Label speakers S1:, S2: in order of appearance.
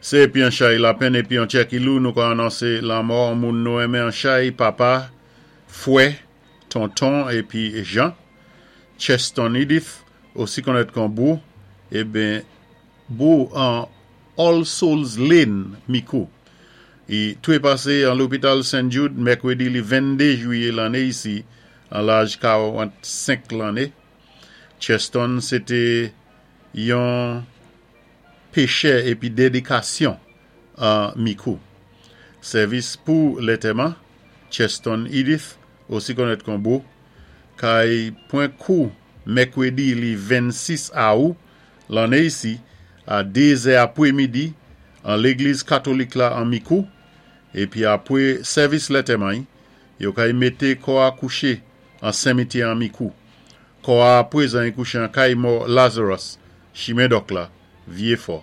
S1: Sé épi an chay lapenn épi an tjè ki lou nou ka anonsé lanmò an moun nou renmen an chay, papa, fwè, tonton épi jan, Cheston Edith, osi konnèt kon Bou, eben Bou an All Souls Lane, Mikou. I twépasé an lopital St. Jude mèkwédi li 22 jwiyé lanné isi an laj 45 lanné. Cheston sé té yon pechè épi dédikasyon an Mikou. Sèvis pou lantèman, Cheston Edith, osi konnèt kon Bou, kay pwan kou mèkwédi li 26 awou lanné isi a 2 zè apwé midi an légliz katolik la an Mikou, épi apwé sèvis lantèman-y, yo kay mété kò-a kouché an senmityè an Mikou. Kò-a apwézan i kouché an kay mò Lazarus, Chimen Dòk la, Vyé Fò.